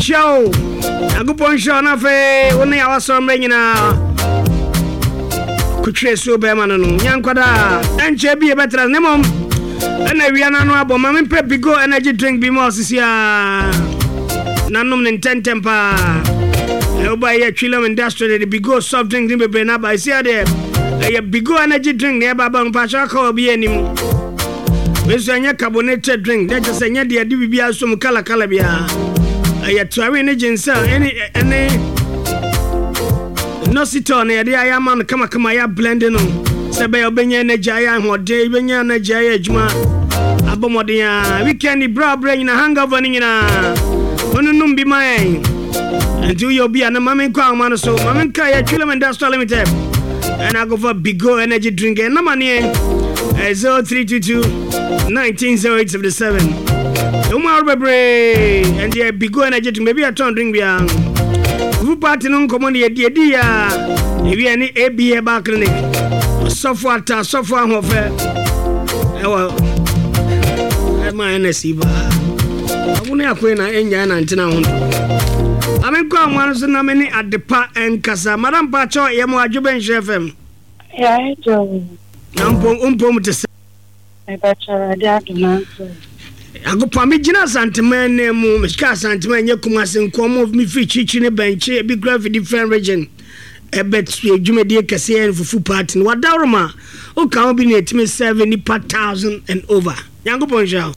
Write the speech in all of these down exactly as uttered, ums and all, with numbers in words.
Hyia o, Nyankopɔn nhyira wo, na afei wo ne awasɔrɔ mmerɛ nyinaa kotwerɛ suo bɛrima no no nyankwadaa ɛnkyɛ bi yɛbɛtra ne mmom ɛna awia no ano abɔ. Ma mempɛ Bigo energy drink bi ma ɔsisi a nanom ne ntɛntɛm paa. Ɛwoba yɛ Twilem Industry de Bigo soft drink ne bebree no aba. Ɛsi adeɛ ɛyɛ Bigo energy drink ne ɛba ba mpakyɛ aka wɔ bi anim. Wei nso ɛnyɛ carbonated drink, na kyerɛ sɛ ɛnyɛ deɛ ɛde biribiara so mu kalakala biara. Ɛyɛ taurine ne ginseng ɛne ɛne inositol na yɛde ayɛ ama no kamakama, ayɛ blend no sɛ ɛbɛyɛ wobɛnya energy, ayɛ ahoɔden, wobɛnya energy ayɛ adwuma, abɔ mmɔden a weekend berɛ a berɛ nyina hangover no nyinaa wɔnonom bi ma yɛn. Nti woyɛ obi a na ma menkɔ ahoma no so, ma menka yɛ Twilem Industrial Limited ɛna akɔfa Bigo energy drink. Ɛnam aneɛ zero three two two one nine zero eight seven seven. Ɛmu ahorow bebree. Ɛnti yɛ Bigo energy drink baabi a ɛtɔn drink biara. Fufu party no nkɔmmɔ no yɛdi yɛdi ya ewi ne A B Herbal Clinic, ɔsɔfo ata, ɔsɔfo ahoɔfɛ ɛwɔ ɛma N S baa ɔmo ne akoe na ɛnyae nantena ho nto. Ame nkɔ ahoma no so na me ne Adepa nkasa. Madam Pakyɛ, yɛ mo adwo bɛnhyɛ F M. Yeah, Joe. Na mpom mpom te sɛ? Mebakyɛ, Awurade adom nanso. Agopa megyina Asanteman nan mu. Mesika Asanteman nyɛ Kumase nkɔmmɔ. Mefiri kyirikyiri ne bɛnkye, ebi kura fi different region ɛbɛ dwumadie kɛseɛ yɛ fufu party no. Wadaworoma woka ho bi ne ɛtumi serve nipa thousand and over. Nyankopɔn nhyira wo.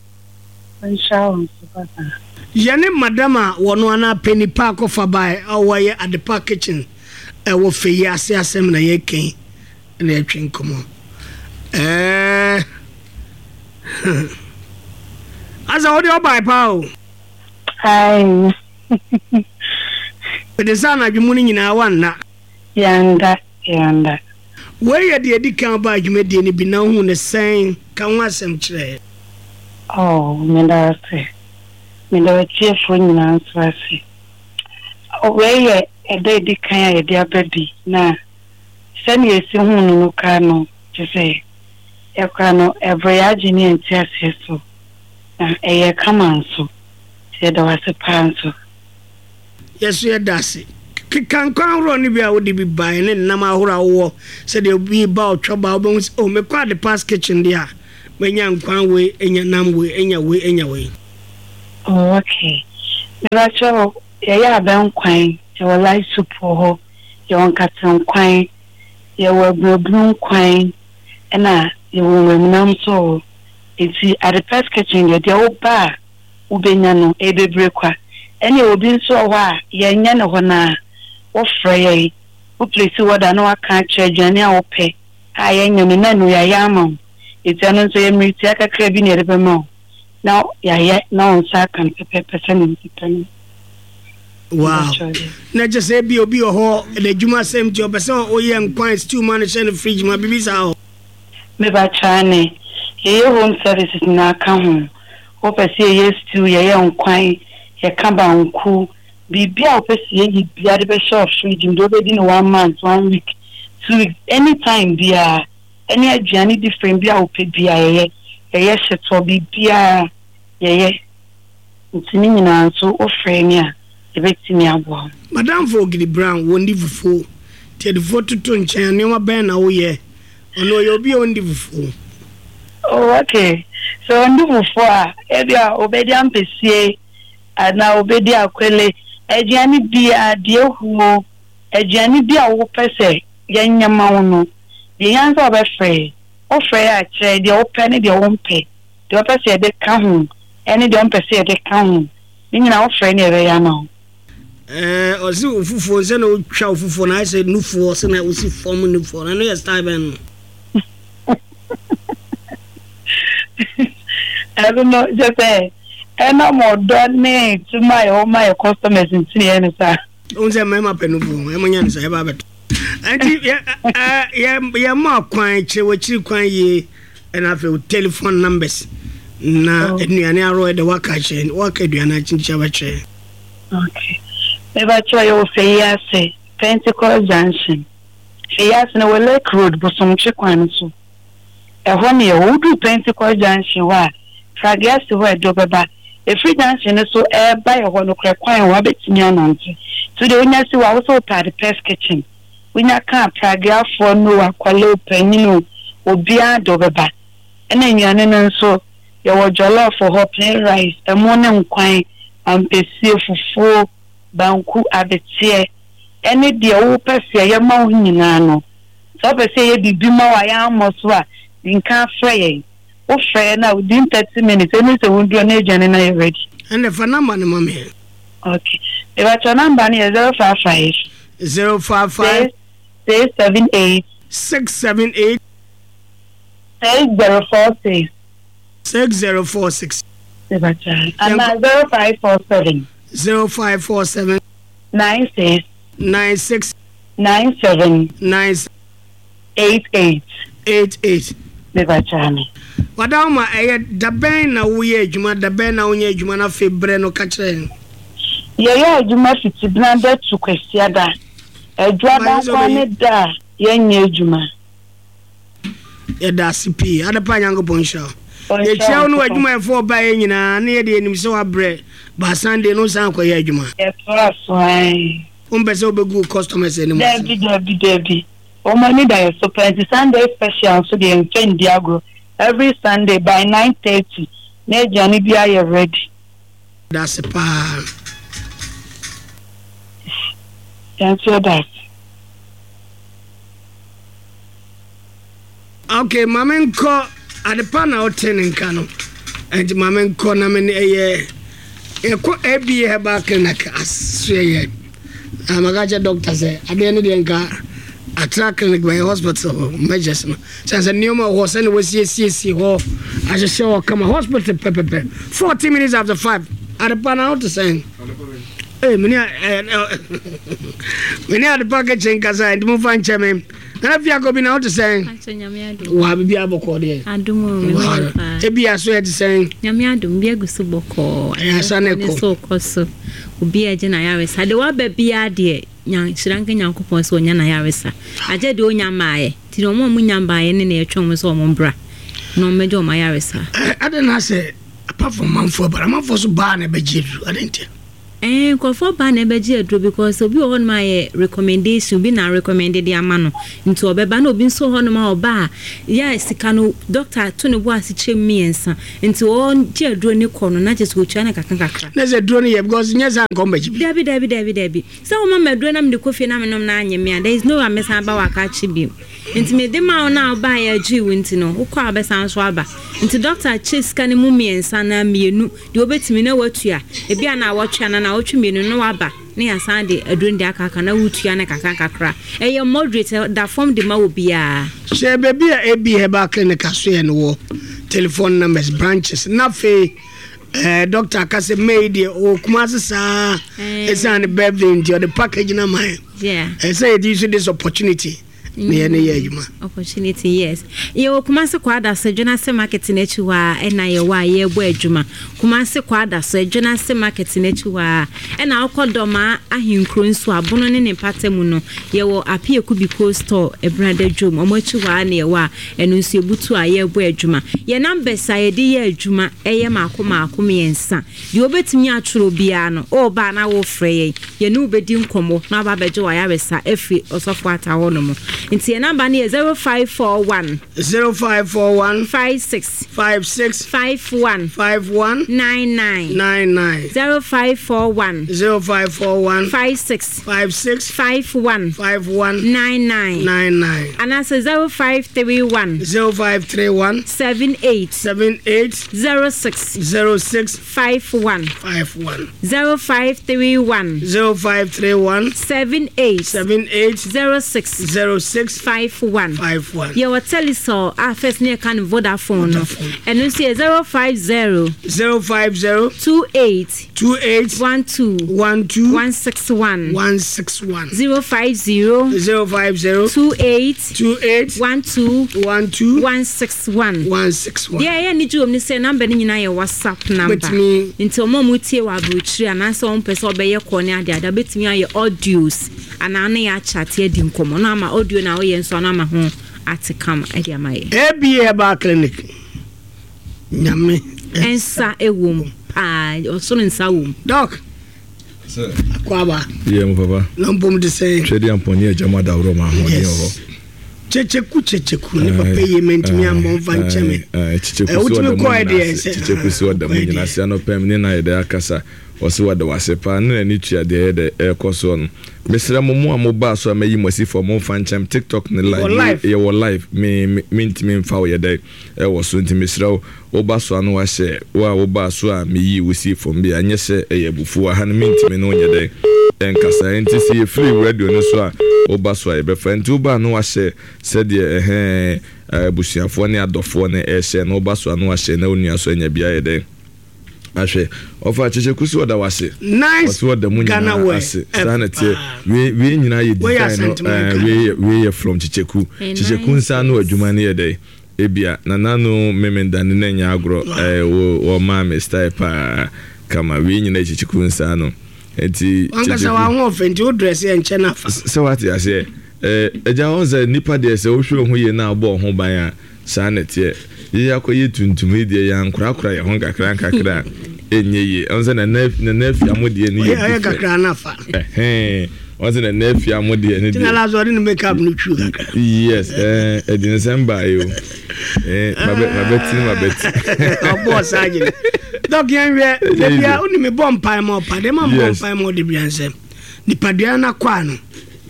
Nhyira wo nso, papa. Yɛne madam a wɔno anaa pɛ nipa akɔfa bae a wɔyɛ Adepa Kitchen ɛwɔ fɛ yi ase asɛm na yɛkɛn na yɛtwe nkɔmmɔ. Ɛɛ asa wode ɔbae paa o. Ai. Mede sɛ anadwo mu no nyinaa wanna? Yanda, yanda. Wei yɛ deɛ ɛdi kan ba adwumadie no bi na wohu ne sɛn? Ka ho asɛm kyerɛ. Oh, meda ase. Meda watiefoɔ nyinaa nso ase. Wei yɛ ɛda edi kan a yɛde aba bi na sɛnea esi hu no no koraa no, kyerɛ sɛ yɛkora no ɛbrɛ yɛ agye ne yɛn te aseɛ so na ɛyɛ kama nso. Nti yɛda wase paa nso. Yɛso yɛda ase. Keka nkwan ahoroɔ no bi a wode bi bae ne nnam ahoroɔ a wowɔ, sɛdeɛ obi ba ɔtwa ba wobɛhu sɛ, oh, mekɔ Adepa's Kitchen deɛ a manya nkwan wei, anya nam wei, anya wei, anya wei. Oh, okay. Mebakyɛ, yɛyɛ abɛnkwan, yɛwɔ light soup wɔ hɔ, yɛwɔ nkatenkwan, yɛwɔ aburoburo nkwan, ɛna yɛwɔ nwuramnam nso wɔ hɔ. Nti Adepa's Kitchen deɛ, deɛ woba a wobɛnya no ɛyɛ bebree kwa. Ɛne obi nso wɔ hɔ a yɛnyɛ ne hɔ naa wɔfrɛ yɛn, wo place order na waka akyerɛ aduane a wopɛ a yɛnyɛ no na no yɛayɛ ama wo. Nti ɛno nso yɛ mmeretia kakra bi na yɛde bɛma wo na yɛayɛ na wo nsa aka no pɛpɛɛpɛ sɛnea nti pɛ no. Wow, na kyɛ sɛ bi obi wɔ hɔ n'adwuma asɛm nti ɔpɛ sɛ woyɛ nkwan stew ma no hyɛ no fridge ma biribi saa hɔ? Mebakyɛ, ne yɛyɛ home services nyinaa ka ho. Wopɛ sɛ yɛyɛ stew, yɛyɛ nkwan, yɛka banku, biribi a wopɛ sɛ yɛyi biara de bɛhyɛ wɔ fridge mu deɛ wobɛdi no one month, one week, two weeks, anytime biara, ɛne aduane different bi a wopɛ biara yɛyɛ. Yɛyɛ hyetɔ, biribiara yɛyɛ. Nti ne nyinaa nso wofrɛ ni a yɛbɛtumi aboa wo. Madamfo Ogidi Brown wɔndi fufuo, nti yɛde fufuo toto nkyɛn a, nneɛma bɛn na woyɛ? Ɔno ɔyɛ obi a ɔndi fufuo. Oh, okay. So ɔndi fufuo a, ebi a obɛdi ampesie anaa obɛdi akwele, aduane biara deɛ ehuo, aduane bi a wopɛ sɛ yɛnyɛ ma wo no deɛ, yɛn nsa wɔbɛfrɛ wofrɛ yɛ akyerɛ deɛ wopɛ ne deɛ wompɛ, deɛ wopɛ sɛ yɛde ka ho ɛne deɛ wompɛ sɛ yɛde ka ho ne nyinaa, wofrɛ ne yɛbɛyɛ ama wo. Ɛɛ ɔsi wo fufuo sɛ na wotwa wo fufuo na ayɛ sɛ nufoɔ sɛ na wosi fam nufoɔ na ɛno yɛ style bɛn no? Ɛno no kyɛ sɛ ɛnam ɔdɔ ne tuma a yɛwɔ ma yɛ customers nti ne yɛ no saa. Ohun sɛ mmarima pɛ nufoɔ, ɛmo nya no sa ɛba abɛtɔ. Nti yɛ ɛɛ yɛ yɛ kwan kyerɛ w'akyiri kwan yie, ɛna afei wo telephone numbers na Oh. aduane ahorow ɛde waka kyerɛ, waka aduane akyinkyia bɛkyerɛ. Okay, mebakyerɛ, yɛwɔ Feyiase Pentecost Junction. Feyiase no wɔ Lake Road, Bosomtwe kwan no so ɛhɔ ne yɛwɔ. Woduru Pentecost Junction hɔ a, Pragiase hɔ a ɛdɔ bɛba Ɛfiri junction no so ɛɛba yɛ hɔ no korɛ kwan wɔ wabɛtumi anante. So deɛ wonya si wɔ a wosɛ wopɛ Adepa's Kitchen. Wonya ka pragiafoɔ no, akwalɛ o, panyin o, obiara de wobɛba. Ɛna nnuane no nso, yɛwɔ jollof wɔ hɔ, plain rice, ɛmo ne nkwan, ampesie, fufuo, banku, abeteɛ, ɛne deɛ wopɛ sɛ yɛma wo nyinaa no. Sɛ wopɛ sɛ yɛyɛ biribi ma wo a yɛammɔ so a, nka frɛ yɛn. Wofrɛ yɛn a, within thirty minutes, ɛne sɛ woduru na aduane no ayɛ ready. Ɛnna fa number no ma me. Okay. Mebatɔ number no yɛ zero five five. zero five five. six seven eight. six seven eight. six zero four six. six zero four six. Mebatɔ. Ana zero five four seven. zero five four seven. nine six. nine six. nine seven. nine. eight eight. eight eight. Mebatɔ me. Wada ma ɛyɛ dabɛn na woyɛ adwuma, dabɛn na wonyɛ adwuma, na afei berɛ no ka kyerɛ yɛn. Yɛyɛ adwuma fiti benada to kwasiada. Adwuada nkwa ne da a yɛnyɛ adwuma. Yɛda ase pii. Adepa, Nyankopɔn nhyira wo. Yɛkyia wo ne w'adwumayɛfoɔ ɔbaeɛ nyinaa ne yɛde yɛnim sɛ woabrɛ ba Sunday no san kɔyɛ adwuma. Yɛtoa so ae. Wompɛ sɛ wobɛgu wo customers anim ase. Dabi, dabi, dabi. Wɔn ani da yɛ so paa nti Sunday special nso deɛ yɛmfa ndi agorɔ. Every Sunday by nine thirty na aduane bi ayɛ ready. Da ase paa. Yɛn nso yɛda ase. Okay, maame nkɔ Adepa na ɔte ne nka no. Nti maame nkɔ na me ne ɛyɛ yɛkɔ A B A Herbal Clinic asoɛ yɛ. Na maka kyerɛ doctor sɛ adeɛ no deɛ nka Atra Clinic bɛyɛ hospital measures no. Sɛ sɛ nneɛma wɔ hɔ sɛne wɔsiesiesie hɔ ahyehyɛ hɔ kama, hospital pɛpɛpɛ. fourteen minutes after five. Adepa, na wote sɛn? Ee, mene mene Adepa Kitchen kasa, nti momfa nkyɛ me. Nana Fiakɔ bi, na wote sɛn? Wa bibi abɔkɔ deɛ? Adom o, me ho yɛ paa. Ebi aso yɛ te sɛn? Nyame adom bi agu so bɔkɔɔ. Ɛyɛ asa ne Ne kɔ. So kɔ so. Obi a gye na yaresa. De waba biara deɛ, nhyira nka Nyankopɔn sɛ ɔnya na yaresa. Agye deɛ ɔnya mmaeɛ. Nti na ɔmo a ɔmo nya mmaeɛ ne na yɛtwe ɔmo sɛ ɔmo mbra. Na ɔmo mmɛgye ɔmo ayaresa. Ade na sɛ apart from manfoɔ bara, manfoɔ so baa na ɛbɛgye aduru ade ntia? Ɛɛ, nkurɔfoɔ baa na ɛbɛgye aduro because obi wɔ hɔnom a yɛ recommendation, obi na recommend de ama no nti ɔbɛba, na obi nso wɔ hɔnom a ɔba a yɛ sika no, doctor to ne bo ase kyerɛ mu mmiɛnsa nti ɔgye aduro ne kɔ no na kyerɛ sɛ otua no kakra kakra. Na sɛ aduro no yɛ, because nyɛ sɛ anka ɔmbɛgye bi. Dabi, dabi, dabi, dabi, sɛ wɔma ma aduro na mede kɔ fie na menom na anyɛ me a, there is no way a mesan ba wɔ aka akye bio. Nti mede ma wo na wobaeɛ agye wo nti no, wokɔ a wobɛsan so aba. Nti doctor kyɛ sika no mu mmiɛnsa na mmienu deɛ wobɛtumi na watua, ebi a na awɔtwe ana na awɔtwe mmienu na waba ne yɛasan de aduro no de akaka na wotua no kakra kakra. Ɛyɛ moderate, da fam de ma wɔ biara. Hyɛ baabi a A B Herbal Clinic asoɛ no wɔ, telephone numbers, branches, na afei eh, doctor aka sɛ May deɛ ɔwɔ Kumase saa ɛsiane ne birthday nti ɔde package no ama yɛn. Yeah. Ɛsɛ yɛde use this opportunity na yɛne yɛ adwuma. Opportunity, yes. Yɛwɔ Kumase Kwadaso, Adwonase Market n'akyi hɔ a ɛna yɛwɔ a yɛrebɔ adwuma. Kumase Kwadaso, Adwonase Market n'akyi hɔ a ɛna wokɔ Dɔmaa ahenkuro nso abono ne ne mpata mu no, yɛwɔ Apieku Biko Store, Ɛbrada dwom ɔmo akyi hɔ a na yɛwɔ a ɛno nso yɛbutu a yɛrebɔ adwuma. Yɛ numbers a yɛde yɛ adwuma ɛyɛ maako maako mmiɛnsa. Deɛ wobɛtumi atwerɛ biara no, ɔɔba na wofrɛ yɛn, yɛne wobɛdi nkɔmmɔ na waba abɛgye w'ayaresa afiri ɔsɔfo Ata hɔ nom. Nti yɛn number no yɛ zero five four one. zero five four one. five six. five six. five one. five one. nine nine. nine nine. zero five four one. zero five four one. five six. five six. five one. five one. nine nine. nine nine. Anaasɛ zero five three one. zero five three one. seven eight. seven eight. zero six. zero six. five one. five one. zero five three one. zero five three one. seven eight. seven eight. zero six. zero six. five one. five one. Yɛwɔ Telecel a first ne yɛka no Vodafone no. Vodafone. Ɛno nso yɛ zero five zero. zero five zero. two eight. two eight. one two. one two. one six one. one six one. zero five zero. zero five zero. two eight. two eight. one two. one two. one six one. one six one. Deɛ ɛyɛ ne gye wɔ mu ne sɛ number no nyinaa yɛ WhatsApp number. Bɛtumi. Nti ɔmo a ɔmo tie wɔ aburokyire anaasɛ ɔmo pɛ sɛ ɔbɛyɛ kɔ ne ade ade, bɛtumi ayɛ audios anaa ne yɛ akyate adi nkɔmmɔ na ama audio na ɔyɛ nso ano ama ho ate kama ɛde ama yɛ. A B A Herbal Clinic, Nyame ɛnsa ɛwɔ mu paa ɔsoro nsa wɔ mu. Doc. Akwaba. Yeah, mo papa. Na mpom de sɛ. Twɛde ampɔne agya mu adaworo ma ahoɔden wɔ hɔ. Kyekyeku kyekyeku ne papa yi mentumi ambɔ mfa nkyɛ me. Kyekyeku si ɔda mu nyinaa ase. Kyekyeku si ɔda mu nyinaa ase anɔpɛ ne na yɛde akasa. Ɔsi wada wase paa ne n'ani tua deɛ yɛde ɛkɔ soɔ no. Mesrɛ mo mo a mo baa so a mɛyi mo asi fam mo mfa nkyɛm TikTok ne live yɛwɔ live me mentumi mfa wo yɛdɛ ɛwɔ so nti mesrɛ wo woba so a no wahyɛ wo a wobaa so a meyi wo si fam bi a nyɛ sɛ ɛyɛ abufuo aha no mentumi ne wo nyɛ dɛ ɛnkasa nti sɛ yɛfiri radio no so a woba so a yɛbɛfa nti woba no wahyɛ sɛdeɛ ɛhɛn abusuafoɔ ne adɔfoɔ ne ɛhyɛ no woba so a no wahyɛ na wo nua so anya bi ayɛ dɛ ahwɛ ɔfa kyekyeku si ɔda wase nice ɔsi ɔda mu nyinaa ase saa na teɛ wei wei nyinaa yɛ design no ɛɛ wei wei yɛ from kyekyeku kyekyeku nsa no adwuma no yɛ dɛ ebia nana no memenda ne na nya agorɔ ɛɛ wɔ wɔ maa me style paa kama wei nyinaa yɛ kyekyeku nsa no nti wankasa waho ɔfɛ nti wo dress yɛ nkyɛn nafa sɛ wate aseɛ ɛɛ agya wɔn sɛ nipa deɛ sɛ wohwɛ ho yie na abɔ ho ban a saa na teɛ yɛyɛ akɔyɛ tuntum yi deɛ yɛn ankorakora yɛn ho nkakra nkakra ɛnyɛ yie ɔn sɛ nana nana afia mo deɛ ne yɛ ɔyɛ kakra nafa ɛhɛn ɔn sɛ nana afia mo deɛ ne deɛ tina la so ɔde ne make up no twiw kakra yes ɛɛ ɛdi nsɛm baa yi o ɛɛ mabɛ mabɛ ti mabɛ ti ɔbɔ saa gyina Doc yɛn hwɛ ebi a wone me bɔ mpae ma ɔpa deɛ ma mbɔ mpae ma ɔde bia nsɛm nipadua no akɔ ano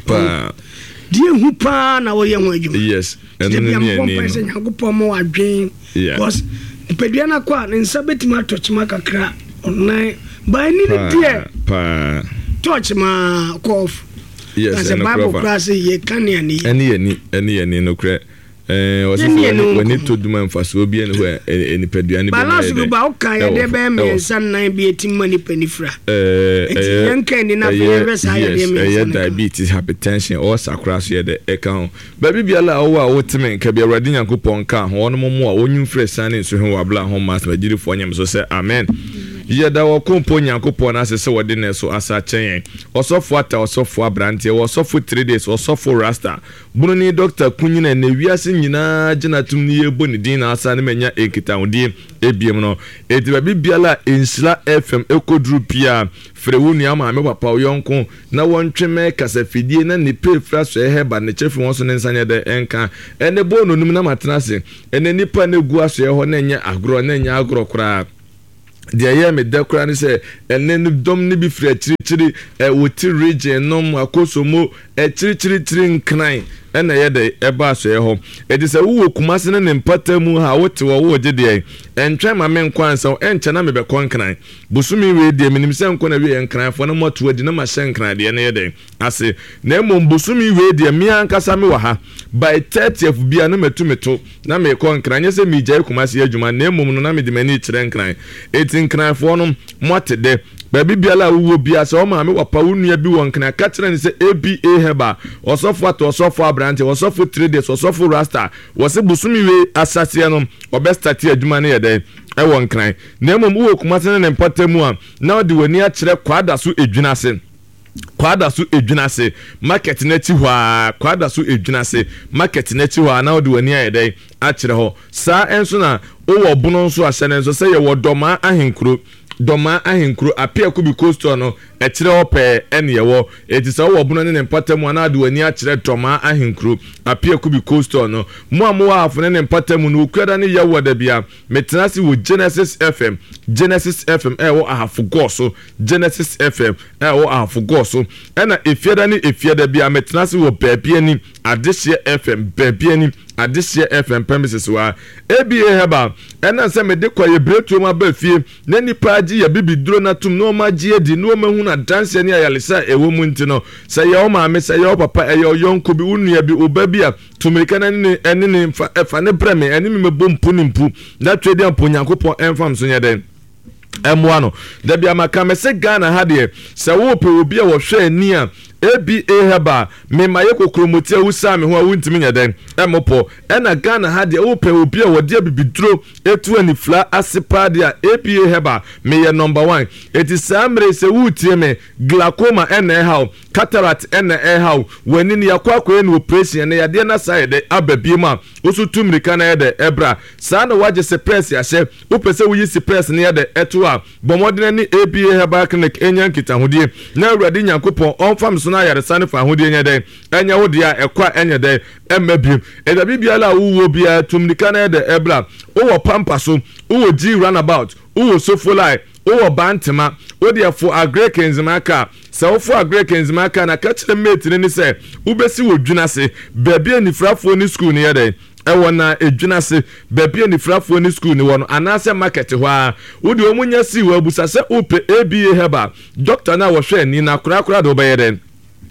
paa deɛ hu paa na wɔyɛ ho adwuma yes ɛno ne ne ani no sɛ Nyankopɔn ma wadwen because nipadua no akɔ a ne nsa bɛtumi atɔ kyema kakra ɔnan ba ani no deɛ paa tɔɔkye ma kɔ off. Yes, ɛno kora fa kora sɛ yɛka ne ani ɛne yɛni ɛne yɛni no korɛ ɛɛ ɔsɛ sɛ w'ani to duma mfasoɔ bi ɛne hɔ ɛ nipadua ne bi na yɛ dɛ balance ba woka yɛ dɛ bɛyɛ mmiɛnsa nnan bi eti ma nipa ni fira ɛɛ ɛyɛ yɛnka ani na afei yɛhwɛ saa yɛ deɛ mmiɛnsa ɛyɛ diabetes, hypertension, ɔsa koraa so yɛ dɛ ɛka ho baabi biara a ɔwɔ a woteme nka bi Awurade Nyankopɔn nka ho ɔno mo a wɔnwum frɛ san ne nso ho wɔ abla ho ma asɛm agyirifoɔ nyam so sɛ amen. Yɛda wɔ kompo Nyankopɔn ase sɛ wɔde ne so asa kyɛn yɛn ɔsɔfo ata ɔsɔfo aberanteɛ ɔsɔfo three days ɔsɔfo rasta bununi Doctor Kunyina na wiase nyinaa gyina tum ne yɛbɔ ne din na asa ne manya nkitahodie ebiem no enti baabi biara a Nhyira F M ɛkɔduru pia frɛ wo nua maame papa wo yɔnko na wɔntwe mɛ kasafidie na ne pɛ fira so ɛhɛ ba ne kyɛfi wɔn so ne nsa nyɛ dɛ ɛnka ɛne bɔ nonum na matena ase ɛne nipa ne gu asoɛ hɔ na ɛnyɛ agorɔ na ɛnyɛ agorɔ koraa deɛ ɛyɛ me dɛ koraa ne sɛ ɛne no dɔm ne bi firi akyirikyiri ɛwɔ ti region nom Akosomo akyirikyirikyiri Nkran ɛna ɛyɛ dɛ ɛba asoɛ hɔ ɛti sɛ wowɔ Kumase ne ne mpata mu ha wote wɔ wowɔ gye deɛ ɛntwɛn ma me nkɔ ansa ɛnkyɛ na mebɛkɔ Nkran bosome wei deɛ menim sɛ nkɔ na wie Nkranfoɔ na moato adi na mahyɛ Nkran deɛ no yɛ dɛ ase na mmom bosome wei deɛ me ankasa me wɔ ha by thirtieth bia na matu me to na mekɔ Nkran nyɛ sɛ megyae Kumase adwuma na mmom no na mede m'ani kyerɛ Nkran ɛti Nkranfoɔ no moate dɛ baabi biara a wowɔ bia sɛ wo maame wapa wo nua bi wɔ Nkran ka kyerɛ ne sɛ A B A Herbal ɔsɔfo ato ɔsɔfo aberante ɔsɔfo three days ɔsɔfo rasta wɔse bosome wei asaseɛ no ɔbɛstarte adwuma no yɛ dɛ ɛwɔ Nkran na mmom wowɔ Kumase ne ne mpata mu a na ɔde w'ani akyerɛ Kwada so edwina ase Kwada so edwina ase market n'akyi hɔ a Kwada so edwina ase market n'akyi hɔ a na ɔde w'ani ayɛ dɛ akyerɛ hɔ saa ɛnso na wowɔ bono nso ahyɛ ne nso sɛ yɛwɔ Dɔmaa ahenkuro Dɔmaa ahenkuro Apia Kubi coastal no ɛkyerɛ hɔ pɛɛ ɛne yɛwɔ eti sɛ wowɔ bono ne ne mpata mu a na ade w'ani akyerɛ Dɔmaa ahenkuro Apia Kubi coastal no mo a mowɔ ahafo ne ne mpata mu no okuada ne yɛwɔ da bia metena ase wɔ Genesis F M Genesis F M ɛwɔ ahafo gɔɔ so Genesis F M ɛwɔ ahafo gɔɔ so ɛna efiada ne efiada bia metena ase wɔ baabi ani Adehyeɛ F M baabi ani Adehyeɛ F M premises wa A B A Herbal ɛna sɛ mede kɔ yɛ bretuo mu aba fie na nipa agye yɛ bibi duro na tum na ɔma agye adi na ɔma hu na danseɛ ne ayalesa a ɛwɔ mu nti no sɛ yɛ wo maame sɛ yɛ wo papa ɛyɛ ɔyɔnko bi wo nua bi wo ba bi a tumirika na ne ɛne ne mfa ɛfa ne brɛ me ɛne me mɛbɔ mpu ne mpu na twɛ di ampo Nyankopɔn ɛmfa m so nyɛ dɛn ɛmmoa no dabi amaka mɛ sɛ Ghana ha deɛ sɛ wopɛ obi a wɔhwɛ ani a A B A Herbal mema yɛ kokromoti a wusa me ho a wuntumi nyɛ dɛn ɛmopɔ ɛna Ghana ha deɛ wopɛ obi a wɔde abibiduro etu anifla ase paa deɛ A B A Herbal meyɛ number one. Eti saa mmere sɛ wutie me, glaucoma ɛna ɛhaw, cataract ɛna ɛhaw, w'ani no yakɔ akɔyɛ no operation ɛna yadeɛ na saa yɛ dɛ aba biem a woso tu mmirika na yɛ dɛ ɛbra. Saa na wagye sepɛs ahyɛ, wopɛ sɛ woyi sepɛs no yɛ dɛ ɛto a, bɔ mmɔden ne A B A Herbal Clinic enya nkitahodie na Awurade Nyankopɔn ɔmfa me so na ayaresa ne fa ahodie nyɛ dɛ ɛnyɛ wo deɛ a ɛkɔ a ɛnyɛ dɛ ɛmma biem. Ɛda biribiara a wowɔ biara tu mmirika na yɛ dɛ ɛbra. Wowɔ Pampa so, wowɔ G runabout, wowɔ Sofolai, wowɔ Bantama, wode ɛfo Agric nzema ka. Sɛ wofo Agric nzema ka na ka kyerɛ mate no ne sɛ wobɛsi wɔ dwena ase baabi a nifrafoɔ ne school no yɛ dɛ ɛwɔ na edwena ase baabi a nifrafoɔ ne school no wɔ no anaasɛ market hɔ a wode wɔn nya si wɔ abusa sɛ wopɛ A B A Herbal doctor na wɔhwɛ ani na korakora de wobɛyɛ dɛ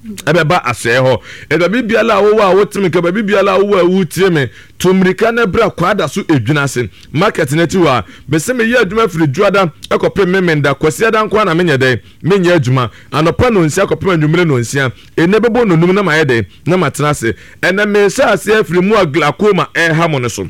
ɛbɛba asɛe hɔ. Ɛda biribiara a wowɔ a woteme nka, baabi biara a wowɔ a wotie me, to mmirika na bra Kwada so edwena ase market no akyi hɔ a mese meyɛ adwuma firi Dwoada ɛkɔpem Memenda, Kwasiada nko ara na menyɛ dɛn menyɛ adwuma. Anɔpa nonsia kɔpem anwummere nonsia, ɛnɛ bɛbɔ nonum na mayɛ dɛn na matena ase. Ɛnɛ mehyɛ ase afiri mu a glaucoma ɛha mo no so.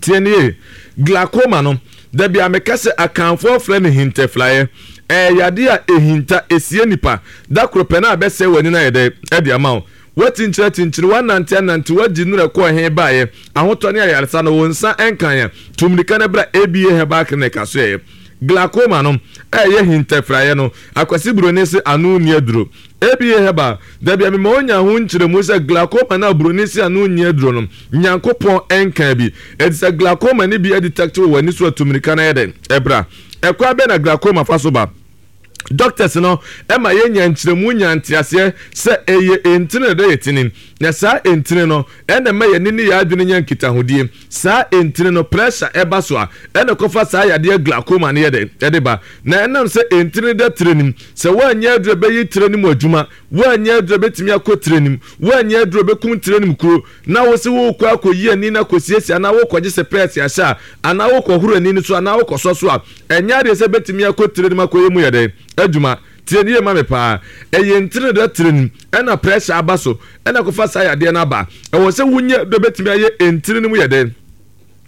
Tie nie, glaucoma no dabi a meka sɛ akanfoɔ frɛ no hintɛflaeɛ. Ɛyɛ yadeɛ a ehinta esie nipa da koro pɛ na abɛsɛe w'ani na yɛ dɛ ɛde ama wo. Watinkyerɛ tinkyere, wanante anante, wagyi nnura kɔɔ he baeɛ, ahotɔ ne ayaresa no wo nsa nkan yɛ. Tu mmirika no bra A B A Herbal Clinic aso yɛ. Glaucoma no ɛyɛ hintɛfraeɛ no, Akwasi Buroni se ano nni aduro. A B A Herbal dabi a mema onya ho nkyerɛmu sɛ glaucoma na buroni se ano nni aduro no, Nyankopɔn nkan bi. Enti sɛ glaucoma ne bi adetect wɔ w'ani so a, tu mmirika no yɛ dɛ ɛbra. Ɛkwan bɛn na glaucoma fa so ba? Doctors no ɛma yɛnya nkyerɛmu nya nteaseɛ sɛ ɛyɛ entini na ɛdɛ yɛ tini. Na saa entini no ɛna ɛma yɛn ani ne yɛn adwene nya nkitahodie. Saa entini no pressure ɛba so a ɛna kɔfa saa yadeɛ glaucoma no yɛ dɛ ɛde ba. Na ɛnam sɛ entini da tire nim, sɛ woanyɛ aduro bɛyi tire no mu adwuma, woanyɛ aduro bɛtumi akɔ tire nim, woanyɛ aduro bɛkum tire no mu kuro, na wo se wokɔ akɔyi ani na kɔsiesie anaa wokɔgye sɛ pɛɛse ahyɛ a anaa wokɔhoro ani no so anaa wokɔsɔ so a, ɛnyɛ adeɛ sɛ bɛtumi akɔ tire no mu akɔyɛ mu yɛ dɛ adwuma. Tie nie ma me paa. Ɛyɛ ntini da tire nim ɛna pressure aba so ɛna kɔfa saa yadeɛ no aba. Ɛwɔ sɛ wonyɛ dɔ bɛtumi ayɛ ntini no mu yɛ dɛ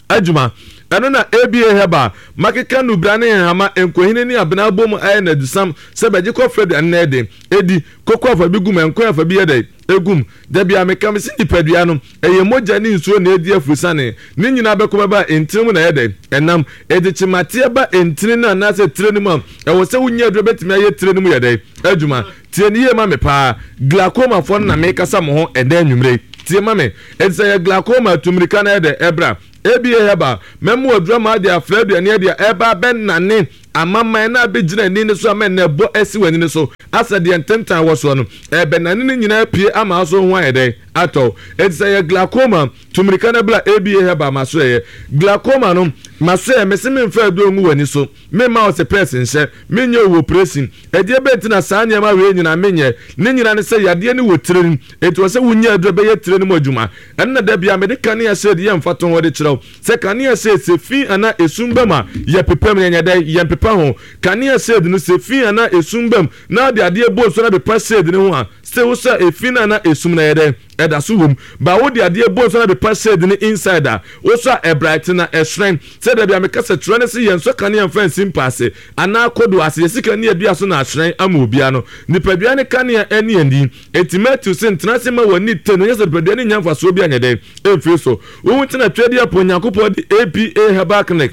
adwuma. Ɛno na A B A Herbal makeka nubra ne nhama nkohini ne abena abom ayɛ n'adusam sɛ bɛgye kɔfrɛ aduane na ɛde edi koko afa bi gum, nkwan afa bi yɛ dɛ egum. Dabi a meka me se nipadua no ɛyɛ mogya ne nsuo na edi afusane ne nyinaa bɛkɔ bɛba ntini mu na ɛyɛ dɛ ɛnam edi kyemateɛ ba ntini no anaasɛ tire no mu a ɛwɔ sɛ wonya aduro bɛtumi ayɛ tire no mu yɛ dɛ adwuma. Tie ne yie ma me paa. Glaucoma foɔ no na mekasa mo ho ɛdɛ anwummere. Tie ma me. Enti sɛ yɛ glaucoma tumirika na ɛyɛ dɛ ɛbra A B A Herbal mɛmo aduro ma ade afra aduane adi a ɛba bɛnane amaman na abɛgyina ani no so ama ɛnɛ ɛbɔ asi w'ani no so asɛ deɛ ntentan wɔ soɔ no ɛbɛnane no nyinaa pie ama so ho ayɛ dɛ atɔ. Enti sɛ yɛ glaucoma tumirika na bra A B A Herbal ma so yɛ glaucoma no ma so yɛ mese memfa aduro ngu w'ani so, memma wo sɛ pɛs nhyɛ, menyɛ wo operation. Ɛdeɛ bɛnti na saa nneɛma wei nyinaa menyɛ ne nyinaa ne sɛ yadeɛ ne wɔ tire no enti wɔ sɛ wonya aduro bɛyɛ tire no mu adwuma. Ɛno na da bia mede kanea shade yɛ mfato ho de kyerɛw sɛ kanea shade sɛ fi anaa esum bam a yɛ pepam yɛnyɛ dɛ yɛn pepa ho. Kanea shade no sɛ fi anaa esum bam na ɔde adeɛ bɔ nsuo na pepa shade no ho a sɛ wo sɛ efi na anaa esum na yɛ dɛ ɛda so wom. Ba wo de adeɛ bɔ nsuo na pepa shade no inside a wo so a ɛbright na ɛhyerɛn. Sɛ da bia meka sɛ kyerɛ ne sɛ yɛn nso kanea mfa nsi mpa ase anaa kodo ase yɛsi kanea dua so na ahyerɛn ama obia no. Nipadua ne kanea ɛne ani. Enti Matthew se ntena ase ma w'ani te no nyɛ sɛ nipadua ne nya mfasoɔ bi anyɛ dɛn ɛmfiri so. Wohu tena twɛdeɛ apo Onyankopɔn de A B A Herbal Clinic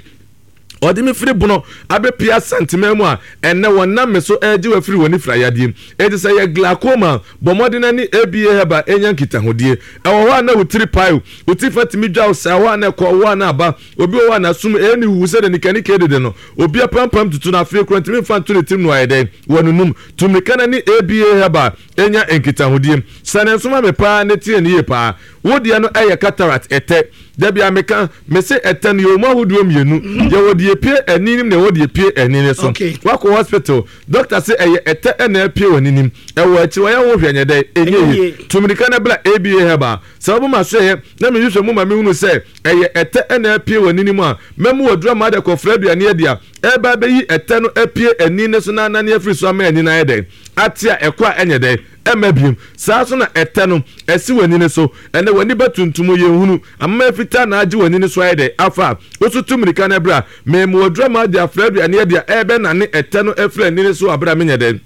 ɔde me firi bono abɛpia Santeman mu a ɛnɛ wɔnam me so ɛregye wafiri wɔ ne fira yadeɛ. Enti sɛ yɛ glaucoma bɔ mmɔden ani A B A Herbal ɛnya nkitahodie. Ɛwɔ hɔ a na wo tiri pae wo ti fa tumi dwa wo saa hɔ a na ɛkɔ hɔ a na aba. Obi wɔ hɔ a n'asom ɛyɛ ne huhu sɛ de nikanika dede no. Obi apampam tutu no afei kura ntumi mfa nto ne tirim no ayɛ dɛn wɔ n'anum. Tu mmirika na ne A B A Herbal ɛnya nkitahodie. Sɛ ne nso ma me paa ne tie ne yie paa. Wo deɛ no ɛyɛ cataract ɛtɛ. Dabi a meka me se ɛtɛ no yɛwɔ mu ahodoɔ mmienu. Yɛwɔ deɛ pie ani nim na yɛwɔ deɛ pie ani ne so. Wakɔ hospital doctor se ɛyɛ ɛtɛ ɛna ɛpie wɔ n'anim. Ɛwɔ akyiri wɔyɛ ho hwɛ nyɛ dɛ ɛnyɛ yie. Tu mmirika na bra A B A Herbal. Sɛ wɔbɔ ma so yɛ na mehwehwɛ mu ma mehunu sɛ ɛyɛ ɛtɛ ɛna ɛpie wɔ n'anim a mɛmu aduro ama de kɔfra aduane adi a Ɛba bɛyi ɛtɛ no apue ani ne so na anane afiri so ama ani no ayɛ dɛn ate a ɛkɔ a ɛnyɛ dɛn ɛma biem. Saa so na ɛtɛ no ɛsi w'ani ne so. Ɛnɛ w'ani bɛtuntum yɛnhunu amama fitaa na agye w'ani ne so ayɛ dɛn afa a woso tu mmirika no ɛberɛ a mɛmu adura ma de afra aduane adi a ɛbɛnane ɛtɛ no afiri ani ne so aberɛ a menyɛ dɛn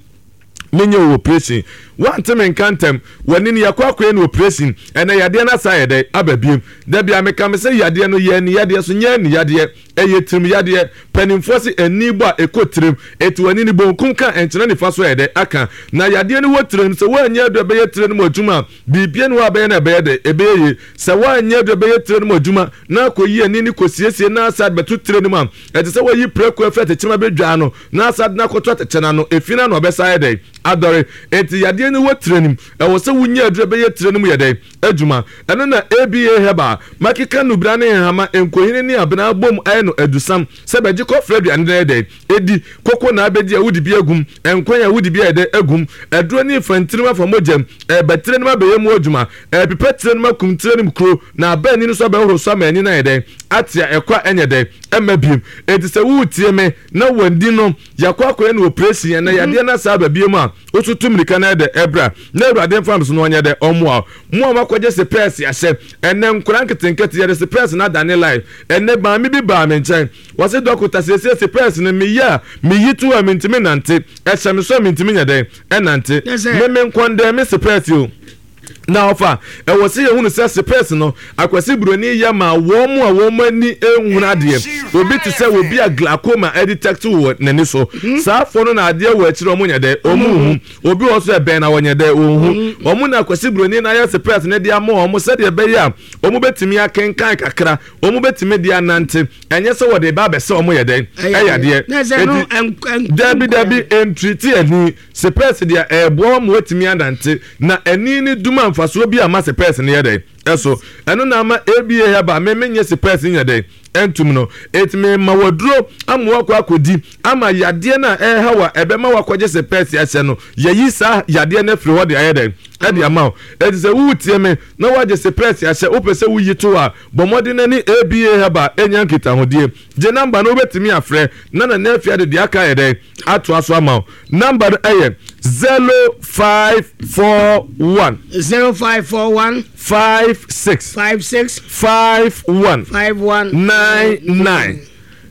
menyɛ wɔ operation. Wante me nka ntɛm w'ani no yɛkɔ akɔyɛ no operation. Ɛnɛ yadeɛ no asa ayɛ dɛn aba biem. Da bia meka me sɛ yadeɛ no yɛ ani yadeɛ so nyɛ ani yadeɛ, ɛyɛ tirim yadeɛ. Mpanimfoɔ se ani bɔ a ɛkɔ tirim, ɛti w'ani no bonkum ka ɛnkyerɛ nifa so ayɛ dɛn aka. Na yadeɛ no wɔ tirim sɛ woanyɛ adu ɛbɛyɛ tire no mu adwuma a biribia ne hɔ a bɛyɛ no ɛbɛyɛ dɛn ɛbɛyɛ yie. Sɛ woanyɛ adu ɛbɛyɛ tire no mu adwuma na akɔyi ani ne kɔsiesie na asa bɛto tire no mu a ɛte sɛ wɔyi prɛko afiri atɛkyɛm abɛdwaa no na asa de no akɔto atɛkyɛ no ano ɛfi no ano ɔbɛsa ayɛ dɛn adɔre. Enti yadeɛ no wɔ tire no mu, ɛwɔ sɛ wonya aduru ɛbɛyɛ tire no mu yɛ dɛn adwuma. Ɛno na A B A Herbal makeka nubra ne nhama nkohini ne abena abom ayɛ no adusam sɛ bɛgye kɔfrɛ aduane no yɛ dɛn ɛdi. Koko na abɛdi a wodi bi agum, nkwan a wodi bi ayɛ dɛn agum. Aduro ne mfantirim afa mogyam, ɛbɛ tire no mu abɛyɛ mu adwuma, ɛpepa tire no mu akum tire no mu kuro na aba ani no so abɛhoro so ama ani no ayɛ dɛn ate a ɛkɔ a ɛnyɛ dɛn ɛmma biem. Enti sɛ woretie me na wandi no yɛakɔ akɔyɛ no operation ɛnɛ yadeɛ no asa aba biem a woso tu mmirika no ayɛ dɛ ɛbra na Awurade mfa me so na ɔnyɛ dɛ ɔmmoa wo. Mo a moakɔgye sepɛɛse ahyɛ ɛnɛ nkora nketenkete yɛde sepɛɛse no adane life. Ɛnɛ maame bi baa me nkyɛn wɔse dɔkota siesie sepɛɛse no meyɛ a meyi to a mentumi nante, ɛhyɛ me so a mentumi nyɛ dɛn ɛnante. Me me nkɔndɛn me sepɛɛse o. Na ɔfa ɛwɔ sɛ yɛhunu sɛ sepɛɛse no Akwasi Buroni yɛ ma wɔn mu a wɔn ani nhunu adeɛ. Obi te sɛ obi a glaucoma ɛdetect wɔ n'ani so. Saa afɔ no na adeɛ wɔ akyire wɔn nyɛ dɛ wɔn nhu. Obi wɔ so ɛbɛn na wɔnyɛ dɛ wɔn hu. Wɔn na Akwasi Buroni na ayɛ sepɛɛse no de ama wɔn sɛdeɛ ɛbɛyɛ a wɔn bɛtumi akenkan kakra, wɔn bɛtumi de anante. Ɛnyɛ sɛ wɔde ba abɛsɛ wɔn yɛ dɛ ɛyɛ adeɛ. Eti dabi dabi ntiriti ani sepɛɛse deɛ ɛɛboa wɔn wɔatumi anante na ani ne dum a mfasoɔ bi ama sepɛɛse no yɛ dɛ ɛso. Ɛno na ama A B A Herbal me menyɛ sepɛɛse nyɛ dɛ ɛntum no. Eti me ma waduro ama wakɔ akɔdi ama yadeɛ no a ɛɛha wa ɛbɛma wakɔgye sepɛɛse ahyɛ no yɛyi saa yadeɛ no afiri hɔ de ayɛ dɛ ɛde ama wo. Eti sɛ woretie me na wagye sepɛɛse ahyɛ wopɛ sɛ woyi to a bɔ mmɔden na ne A B A Herbal ɛnya nkitahodie. Gye namba no wobɛtumi afrɛ na Nana Afia de deɛ aka yɛ dɛ atoa so ama wo. Namba no ɛyɛ zero five four one zero five four one five six five six five one five one nine nine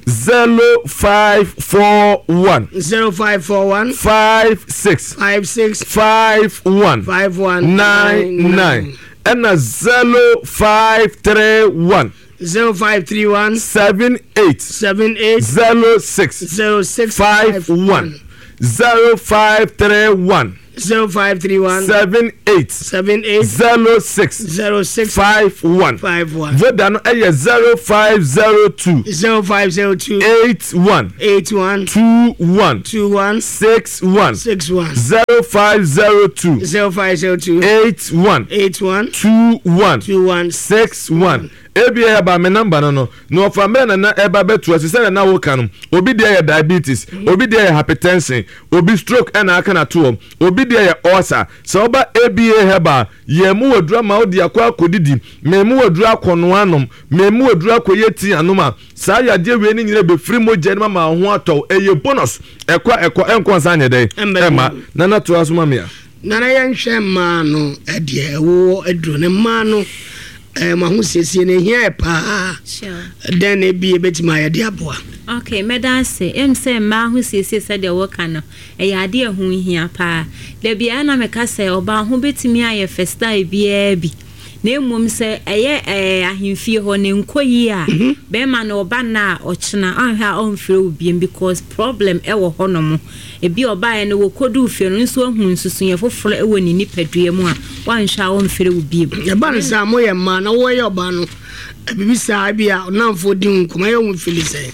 zero five four one zero five four one five six five six five one five one nine nine ɛna zero five three one zero five three one seven eight seven eight zero six zero six five one zero five three one zero five three one seven eight seven eight zero six zero six five one five one. Voda no ɛyɛ zero five zero two zero five zero two eight one eight one two one two one six one six one zero five zero two zero five zero two eight one eight one two one two one six one. A B A Herbal me number no no na ɔfa mmerɛ nana ɛba bɛto ase sɛ nana woka no obi deɛ yɛ diabetes, obi deɛ yɛ hypertension, obi stroke ɛna aka na toɔ, obi deɛ yɛ ulcer. Sɛ ɔba A B A Herbal yɛn mu waduru ama wode akɔ akɔdidi, mɛ mu waduru akɔnoa anom, mɛ mu waduru akɔyɛ tea anom a saa yadeɛ wei ne nyina bɛfiri mogya no ma wo ho atɔw. Ɛyɛ bonus ɛkɔ ɛkɔ ɛnkɔ nsa nyɛ dɛn ɛma nana toa so ma me a. Nana yɛnhwɛ mmaa no ɛdeɛ ɛwowɔ aduro ne mmaa no ɛɛ mo ahosiesie no ehia yɛ paa. Dɛn na ebi ebetumi ayɛ de aboa? Okay, mɛda ase. Em sɛ mmaa ahosiesie sɛdeɛ wɔka no ɛyɛ adeɛ ɛho hia paa. Dabi a na meka sɛ ɔbaa ho betumi ayɛ fɛ style biara bi. Na mmom sɛ ɛyɛ ɛɛ ahemfie hɔ ne nkɔ yie a bɛrima no ɔba na a ɔkyena ɔnhwɛ a ɔmfrɛ wo biem because problem ɛwɔ hɔnom. Ebi ɔbaeɛ no wɔkɔduu fie no nso ahu nsusuiɛ foforɔ ɛwɔ ne nipadua mu a wanhwɛ a ɔmfrɛ wo biem. Ɛba no saa moyɛ mmaa na wɔyɛ ɔbaa no bibi saa bi a ɔnamfoɔ di ho nkɔmɔ ɛyɛ wo fili sɛ.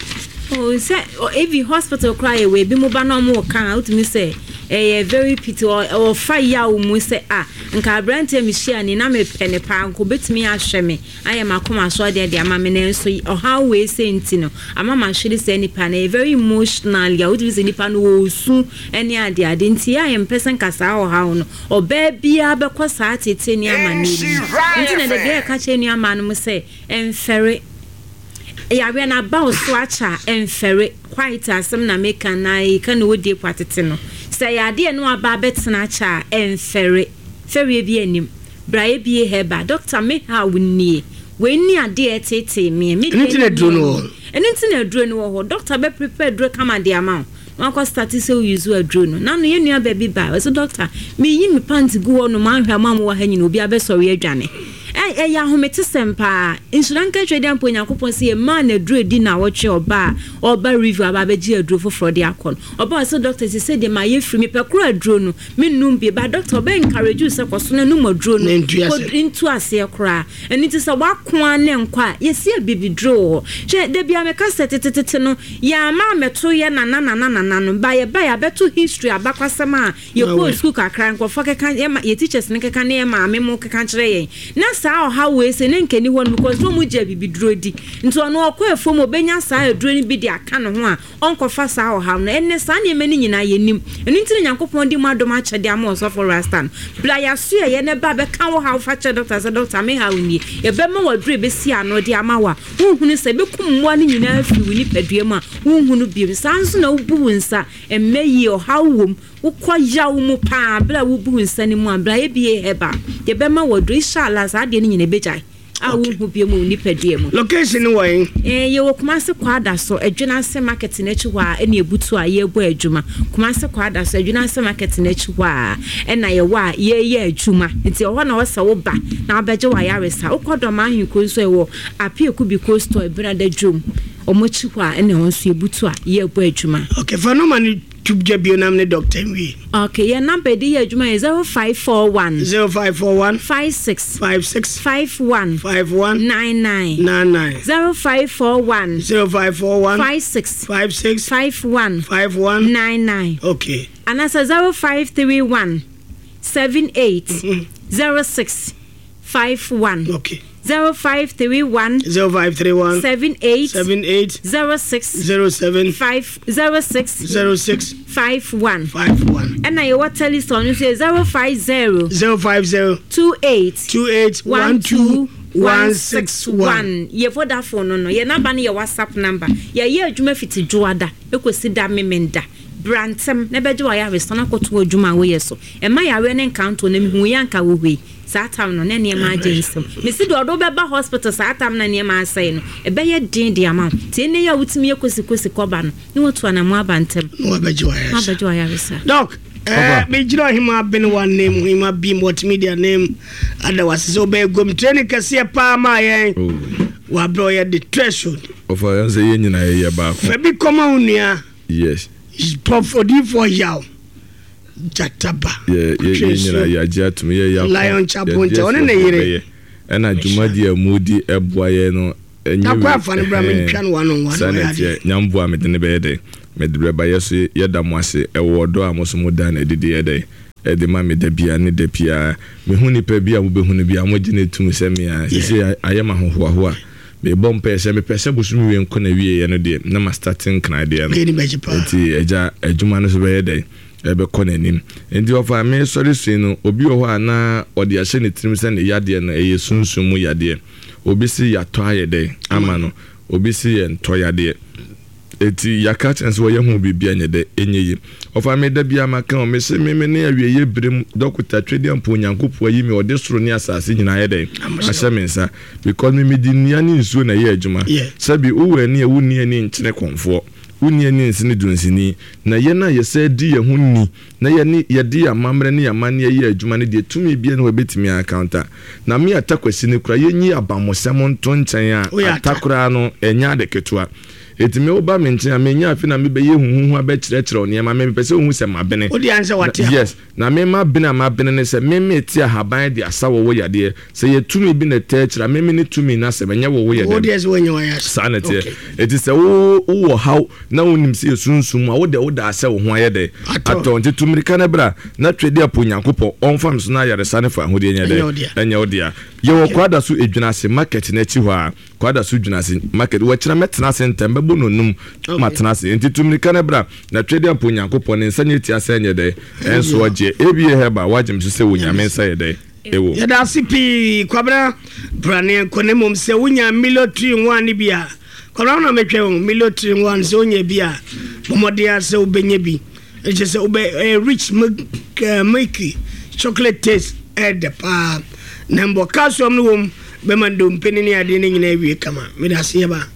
Oh, sɛ ebi hospital koraa yɛ wɔ ebi mo ba na ɔmo ka a wotumi sɛ ɛyɛ very pity ɔfa yaw mu sɛ a nka aberanteɛ mi hyia ni na mepɛ ne paa nka obetumi ahwɛ me ayɛ m'akoma so adeɛ de ama me nanso ɔhaw wei sɛ nti no ama ma hwere sɛ nipa no ɛyɛ very emotional a wotumi sɛ nipa no wɔ osu ɛne ade ade nti yɛ a yɛmpɛ sɛ nka saa ɔhaw no ɔbaa biara bɛkɔ saa tete ne ama ne mu nti na dabi a yɛka kyerɛ nnuamaa no mo sɛ ɛmfɛre. Yareɛ no aba wo so akyɛ a, ɛmfɛre. White asɛm na meka na yɛka ne wɔdie po atete no. Sɛ yadeɛ no aba abɛtena akyɛ a, ɛmfɛre. Fɛreɛ bi anim. Bra A B A Herbal. Doctor, me ha wo nie. Wei ni adeɛ ɛtetee me. Me Ɛno nti na aduro no wɔ hɔ. Ɛno nti na aduro no wɔ hɔ. Doctor bɛ prepare aduro kama de ama wo. Wakɔ start sɛ wo use aduro no. Nano yɛn nua baabi ba. Ɔsɛ, "Doctor, meyi me pant gu hɔ nom ahwɛ ama mo wɔ ha nyina obi abɛsɔre adwane." Ɛ ɛyɛ ahometesɛm paa. Nhyira nka Twɛdeɛ mpo Onyankopɔn sɛ yɛmaa no aduro di na wɔtwe ɔba a ɔba review aba abɛgye aduro foforɔ de akɔ no. Ɔba ɔsɛ, "Doctor, sɛ sɛ deɛ ma yɛ firi mepɛ koro aduro no menum bi ba." Doctor ɔbɛ encourage wo sɛ kɔ so na num aduro no. Na ntu ase. Kɔ ntu aseɛ koraa. Ɛno nti sɛ woakoa ne nkɔ a, yɛsi abibiduro wɔ hɔ. Hwɛ, da bia meka sɛ tetetete no yɛama amɛto yɛ nana nana nana no ba, yɛba yɛabɛto history abakwasɛm a yɛkɔɔ sukuu kakra, nkurɔfoɔ keka yɛma yɛ teachers no keka ne yɛ maame mo keka kyerɛ yɛn na saa ɔhaw wei sɛ ne nkani hɔ no because na ɔmu gye abibiduro di, nti ɔno ɔkɔ afuom, ɔbɛnya saa aduro no bi de aka ne ho a ɔnkɔfa saa ɔhaw no. Ɛnɛ saa nneɛma no nyinaa yɛnim. Ɛno nti na Nyankopɔn de mu adom akyɛde ama ɔsɔfo Rasta no. Bra yɛaso yɛyɛ ne ba bɛka wo haw fa kyerɛ doctor sɛ, "Doctor, me haw nie." Yɛbɛma waduro ɛbɛsi ano de ama wo a wonhunu sɛ ɛbɛkum mmoa no nyinaa firi wo nipadua mu a wonhunu biom. Saa nso na wobu wo nsa ɛmmɛ yie, ɔhaw wom, wokɔ yaw mu paa, berɛ a wobu wo nsa no mu a, bra A B A Herbal, yɛbɛma waduro, inshallah saa adeɛ no nyina ɛbɛgyae a wonhu biom wɔ wo nipadua mu. Location no wɔ he? Eh, yɛwɔ Kumase Kwada so Adwinase Market n'akyi hɔ a ɛna ebutu a yɛrebɔ adwuma. Kumase Kwada so Adwinase Market n'akyi hɔ a ɛna yɛwɔ a yɛreyɛ adwuma, nti ɛhɔ na wɔsɛ wo ba na wabɛgye wayaresa. Wokɔ Dɔm Ahenkuro nso, ɛwɔ Apiaku Biko Store, Ebinada dwom ɔmo akyi hɔ a ɛna ɛhɔ nso yɛbutu a yɛrebɔ adwuma. Okay, fa nɔma no to gya bio nam ne doctor nwie. Okay, yɛn number de yɛ adwuma yɛ zero five four one zero five four one five six five six five one five one nine nine nine nine zero five four one zero five four one five six five six five one five one nine nine. Okay. Anaasɛ zero five three one seven eight zero six five one. Okay. zero five three one zero five three one seven eight seven eight zero six zero seven five zero six zero six five one. five one. Ɛna yɛwɔ Telecel no nso yɛ zero five zero zero five zero two eight two eight one two one six one. Yɛ Vodafone no no yɛ number no yɛ WhatsApp number. Yɛyɛ adwuma fiti Dwoada ɛkɔsi da Memenda. Brantɛm na bɛgye wayaresa na kɔto adwuma a woyɛ so. Ɛma yareɛ ne nkanto na mehu yɛ anka wɔ hɔ yi saa tam no na nneɛma agye nsɛm. Mesi deɛ ɔde wobɛba hospital saa tam na nneɛma asɛe no, ɛbɛyɛ den de ama wo. Nti ɛnɛ yi a wotumi yɛ kosikosi kɔba no na watu anamo aba ntɛm na wabɛgye na wayaresa. Wabɛgye wayaresa. Doc, eh, megyina ɔhema Benewa name, ɔhema B Multimedia name, ada wase sɛ wobɛyɛ gomtrani kɛseɛ paa ma yɛn. Wabrɛ ɔyɛ de threshold. Ɔfa yɛn sɛ yɛn nyinaa yɛyɛ baako. Fa bi kɔma wo nua. Yes. Prof Odiyifoɔ Yaw Gyataba. Yɛ yɛ yɛn nyinaa yɛagye atom yɛ yɛ Lion Chaponte, ɔne ne yere. Ɛna dwumadi a mu di ɛboa yɛ no ɛnyɛ Takɔ wei- afa no bra ɛhɛn. mentwa no one on one. Saa na ɔyɛ ɛteɛ adeɛ. Nyamboa mede ne bɛyɛ dɛ mede bɛba yɛ so. Yɛda mo ase ɛwɔ ɔdɔ a mo so mo da na ɛdidi yɛ dɛ ɛde ma me da bia ne da biara. Mehu nipa bi a mobɛhu no bi a mogye ne tum sɛ me a sese ayɛ ma ahohoahoa. Mebɔ mpaeɛ sɛ mepɛ sɛ bosom wie nkɔ na wieɛ no deɛ na ma start nkran deɛ no. Yɛni bɛgye paa. Nti agya adwuma no so bɛyɛ dɛ ɛbɛkɔ n'anim. Nti ɔfa mesɔre sui no, obi wɔ hɔ a na ɔde ahyɛ ne tirim sɛ ne yadeɛ no ɛyɛ sunsum mu yadeɛ. Obi si yɛatɔ ayɛ dɛ ama no, obi si yɛ ntɔ yadeɛ. Eti yɛaka kyerɛ sɛ wɔyɛ ho biribi anyɛ dɛ ɛnyɛ yi. Ɔfa me da bia maka o, mese me me ne awieyɛ berɛ mu dɔkota Twedeɛ mpo Onyankopɔn ayi me, ɔde soro ne asase nyinaa yɛ dɛ ahyɛ me nsa because me mede nnua ne nsuo na ɛyɛ adwuma. Yeah. Sɛbi wowɔ ani a wonni ani nkyene kɔmfoɔ, wonni ani nsene dunsini na yɛn a yɛsɛ di yɛn ho ni na yɛne yɛde yɛn amammerɛ ne yɛn amanneɛ yɛ adwuma no deɛ, tumi bia ne wɔbɛtumi akanta na me Atakwasi no kora yɛnyi abammɔsɛm nto nkyɛn Woyɛ a ata. Ata koraa no ɛnyɛ ade ketewa. Ɛti me woba me nkyɛn a menya afe na mebɛyɛ huhuhu abɛkyerɛkyerɛ wo nneɛma. Me mepɛ sɛ wohu sɛ mabene. Wode ansɛ wate a. Yes, na mema bene a mabene ne sɛ meme te ahaban de asa wɔ wo yadeɛ. Sɛ yɛ tumi bi na ɛtɛ akyerɛ a meme ne tumi no asɛm ɛnyɛ wo wo yɛ Wo dɛm. deɛ sɛ woanya wayaresa. Saa na ɛteɛ. Okay. Ɛti sɛ wo wowɔ haw na wonim sɛ yɛsunsum mu a wode woda sɛ wo ho ayɛ dɛ Atɔ. atɔ. Nti tu mmirika no bra na Twɛdi apo Onyankopɔn ɔmfa me so na ayaresa ne fa ahodeɛ nyɛ Ɛnyɛ wo dɛ dea. Ɛnyɛ wo dea. Yɛwɔ Kwada so Edwina ase Market no akyi hɔ a Kwada so Dwina ase Market. Wɔkyerɛ mɛtena ase ntɛm bɛbɔ nonum. Okay. Matena ase. Nti tu mmirika no bra na Twɛdi apo Onyankopɔn ne nsa nyɛ tia sɛ ɛnyɛ dɛ ɛnso ɔgyeɛ A B A Herbal wagye me so sɛ wɔ Nyame nsa yɛ dɛ ɛwɔ. Yɛda ase pii, Kwabena. Brane nkɔ ne mmom sɛ wonya Milo three in one ne bi a Kɔnɔ na metwɛn o. Milo three in one, sɛ wonya bi a, bɔmmɔden a sɛ wobɛnya bi. Ɛkyɛ sɛ wobɛ ɛyɛ rich milk, uh, milky chocolate taste, ɛdɛ paa na mbɔ calcium no wɔ mu bɛma ndompe ne ne adeɛ no nyinaa awie kama. Mede ase yɛ ba.